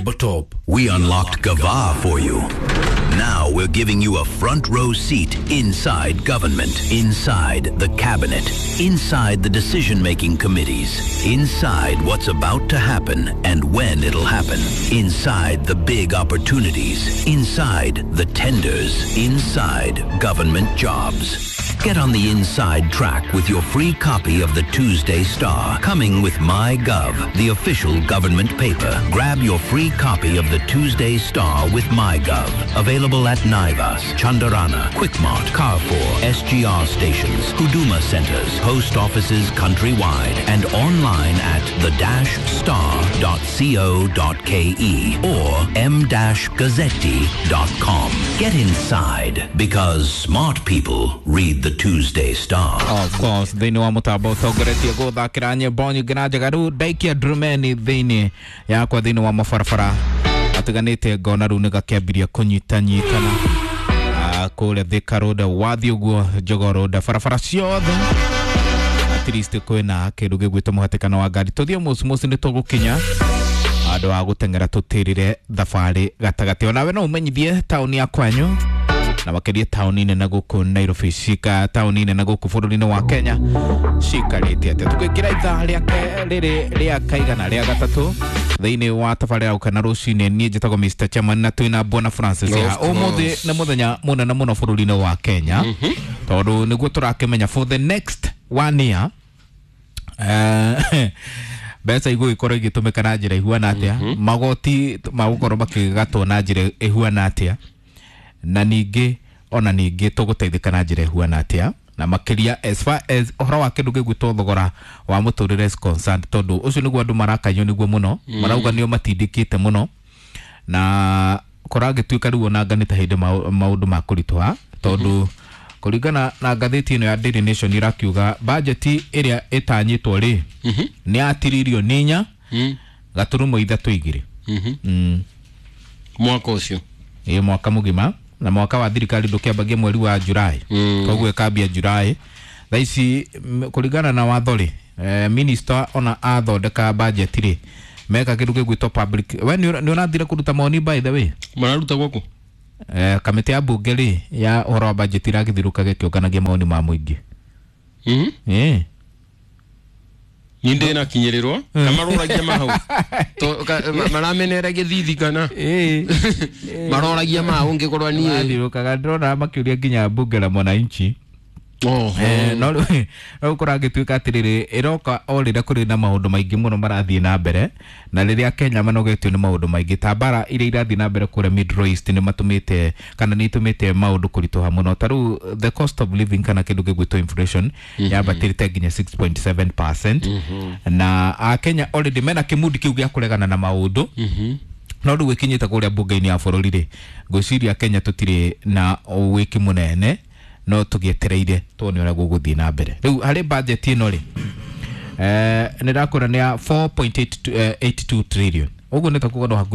Rwimbo Top. We unlocked Gava for you. Now we're giving you a front row seat inside government, inside the cabinet, inside the decision making committees, inside what's about to happen and when it'll happen, inside the big opportunities, inside the tenders, inside government jobs. Get on the inside track with your free copy of the Tuesday Star, coming with MyGov, the official government paper. Grab your free copy of the Tuesday Star with MyGov. Available at Naivas, Chandarana, Quickmart, Carrefour, SGR stations, Huduma centers, post offices countrywide, and online at the-star.co.ke or m-gazzetti.com. Get inside because smart people read the Tuesday Star. Of course, thĩinĩ wa mũtambo ũtongoretie gũthakĩra nyĩmbo nyingĩ na njega. Rĩu ndaikia ndurumeni thĩinĩ yakwa thĩinĩ wa mabarabara atiganĩte, ngona rĩu nĩ gakĩambirie kũnyitanyitana. Kũrĩa Thika Road, wathiĩ ũguo Jogoo Road, barabara ciothe at least kwĩna kĩndũ gĩgwĩtwo mũhatĩkano wa ngari. Tũthiĩ mũciĩ nĩ tũgũkinya andũ a gũteng'era tũtĩrĩre thabarĩ gatagatĩ. Onawe no ũmenyithie taũni ya kwanyu na makĩria taũni nene gũkũ Nairobi, cika taũni nene gũkũ bũrũri-inĩ wa Kenya cikarĩte atĩa. Tũgĩkĩra ithaa rĩake rĩrĩ rĩa kaigana rĩa gatatũ thĩinĩ wa tabarĩra ya Gũkena Rũcinĩ. Niĩ njĩtagwo Mr Chairman na twĩna Bwana Francis Of haha. Ũmũthĩ course. nĩ mũthenya mũnene mũno bũrũri-inĩ wa Kenya tondũ nĩguo tũrakĩmenya for the next one year mbeca igũgĩkorwo igĩtũmĩka na njĩra ihuana atĩa, magoti magũkorwo makĩgatwo na njĩra ĩhuana atĩa, na ningĩ ona ningĩ tũgũteithĩka na njĩra ĩhuana atĩa, na makĩria as far as ũhoro wa kĩndũ gĩgwĩtwo thogora wa mũtũrĩre is concerned, tondũ ũcio nĩguo andũ marakanyio nĩguo mũno, marauga nĩo matindĩkĩte mũno na kũragĩtuĩka rĩu ona nĩ ta hĩndĩ maũndũ ma kũritũha, tondũ kũringana na ngathĩti ĩno ya Daily Nation ĩrakiuga bajeti ĩrĩa ĩtanyĩtwo rĩ nĩ ya tiririoni 4.32. Mwaka ũcio? Ĩ, mwaka mũgima, na mwaka wa thirikari ndũkĩambagia mweri wa Julai, koguo ĩkambia Julai. Thaa ici kũringana na watho rĩ, minister ona athondeka budget rĩ, meka kĩndũ gĩgwĩtwo public. We nĩ ũrathire kũruta mawoni, by the way? Mararuta gwaku? Kamĩtĩ ya mbunge rĩ ya ũhoro wa budget ĩragĩthirũka gĩkĩũnganagia mawoni ma mũingĩ. Ĩ. Ni ndĩ nakinyĩrĩrwo na maroragia mahau maramenera gĩthithi kana maroragia ma ũngĩkorwo niĩ? Marathiũrũrũkaga, ndĩrona makĩũria nginya mbunge la mwananchi. Oho. No rĩu kũragĩtuĩka atĩrĩrĩ, ĩroka o rĩrĩa kũrĩ na maũndũ maingĩ mũno marathiĩ na mbere, na rĩrĩa Kenya manogetio nĩ maũndũ maingĩ ta mbara iria irathiĩ na mbere kũrĩa Middle East nĩ matũmĩte kana nĩ itũmĩte maũndũ kũritũha mũno. Ta rĩu the cost of living kana kĩndũ gĩgwĩtwo inflation yambatĩrĩte nginya 6.7%, na akenya already mena kĩmundi kĩu gĩa kũregana na maũndũ. No rĩu ĩkinyĩte kũrĩa mbunge-inĩ ya bũrũri rĩ, ngwĩciria Kenya tũtirĩ na wĩki mũnene, no tũgĩetereire tuone ũrĩa gũgũthiĩ na mbere. Rĩu harĩ budget ĩno rĩ, nĩ ndakũra nĩ ya 4.82 trillion, ũguo nĩ ta kuga no hakuhĩ